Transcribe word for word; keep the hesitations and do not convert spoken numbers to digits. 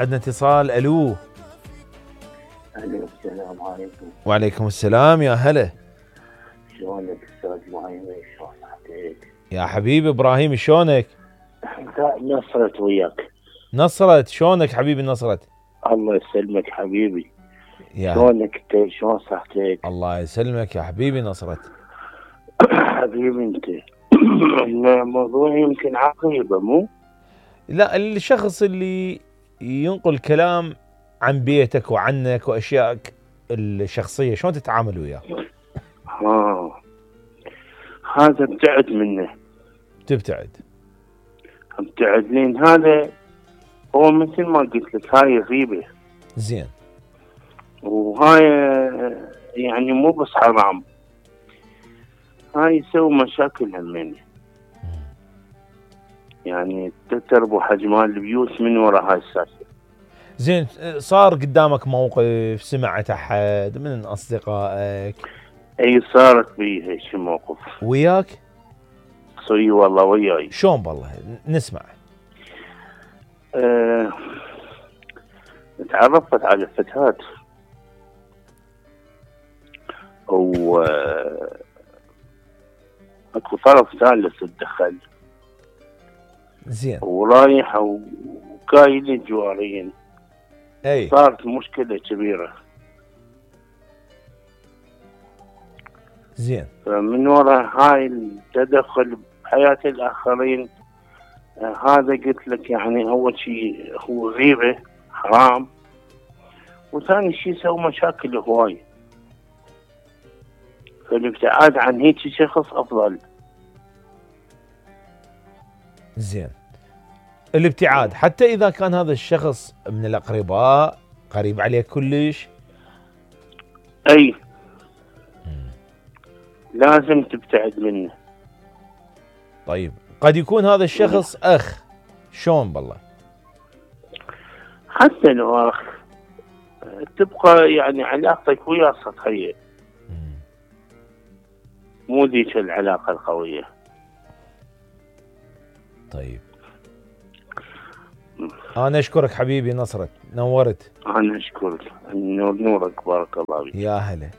عندنا اتصال. الو. الو السلام عليكم. وعليكم السلام يا هلا. شلونك استاذ ابراهيم؟ شلون صحتك؟ يا حبيبي ابراهيم شلونك؟ نصرت وياك. نصرت شلونك حبيبي نصرت؟ الله يسلمك حبيبي. يا شلونك انت؟ شلون صحتك؟ الله يسلمك يا حبيبي نصرت. حبيبي انت. الموضوع يمكن عقيبه مو؟ لا، الشخص اللي ينقل كلام عن بيتك وعنك واشيائك الشخصيه شلون تتعامل وياه؟ ها هذا ابتعد منه. تبتعد؟ ابتعد لين هذا هو مثل ما قلت لك هاي غيبه. زين. وهاي يعني مو بس حرام، هاي يسوي مشاكل همين، يعني تتربو حجمان البيوت من وراء هاي السالفه. زين، صار قدامك موقف سمعت احد من اصدقائك؟ اي صارت بي هيك موقف. وياك؟ صي والله وياي. شلون بالله نسمع. أه... تعرفت على فتاة و اكو طرف ثالث تدخل. زين. ورايح وكايل الجوارين. اي صارت مشكلة كبيرة. زين. فمن وراء هاي التدخل بحياة الآخرين، آه هذا قلت لك يعني أول شيء هو غيبة حرام، وثاني شيء يسوي مشاكل هواي. فالابتعاد عن هيك شخص أفضل. زين. الابتعاد حتى إذا كان هذا الشخص من الأقرباء قريب عليك كلش؟ أي لازم تبتعد منه. طيب قد يكون هذا الشخص أخ، شلون بالله؟ حتى لو أخ تبقى يعني علاقتك وياه سطحية، مو ذيك العلاقة القوية. طيب أنا أشكرك حبيبي نصرت، نورت. أنا أشكرك. نور نورك، بارك الله فيك. يا هلا.